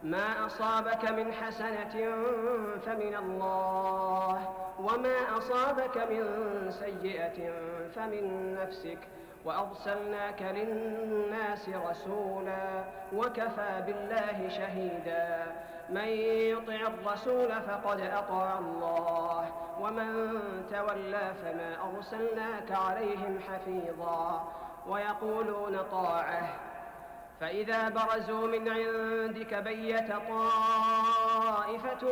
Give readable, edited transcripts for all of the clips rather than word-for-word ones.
ما أصابك من حسنة فمن الله، وما أصابك من سيئة فمن نفسك، وأرسلناك للناس رسولا وكفى بالله شهيدا. من يطع الرسول فقد أطاع الله، ومن تولى فما أرسلناك عليهم حفيظا. ويقولون طاعة، فإذا برزوا من عندك بيت طائفة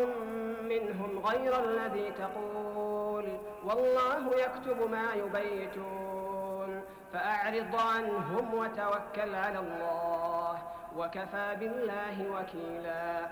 منهم غير الذي تقول والله يكتب ما يبيتون، فأعرض عنهم وتوكل على الله، وكفى بالله وكيلا.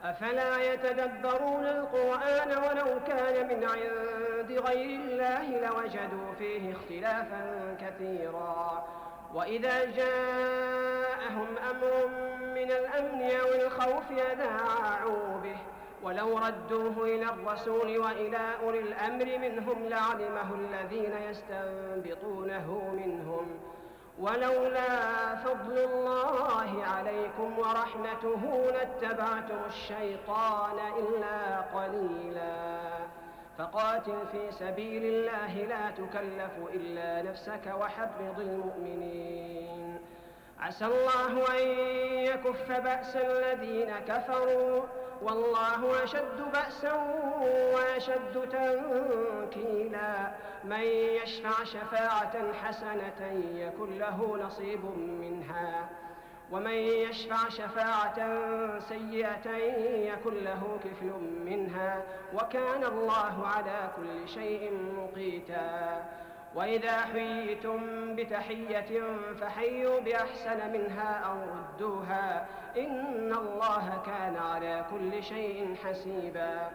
أفلا يتدبرون القرآن ولو كان من عند غير الله لوجدوا فيه اختلافا كثيرا. وإذا جاءهم أمر من الأمن أو الخوف أذاعوا به، ولو ردوه إلى الرسول وإلى أولي الأمر منهم لعلمه الذين يستنبطونه منهم، ولولا فضل الله عليكم ورحمته لاتبعتم الشيطان إلا قليلا. فقاتل في سبيل الله لا تكلف إلا نفسك وحرض المؤمنين. عسى الله أن يكف بأس الذين كفروا، والله أشد بأسا وأشد تنكيلا. من يشفع شفاعة حسنة يكن له نصيب منها، ومن يشفع شفاعة سيئة يكن له كفل منها، وكان الله على كل شيء مقيتا. وإذا حييتم بتحية فحيوا بأحسن منها أو ردوها، إن الله كان على كل شيء حسيبا.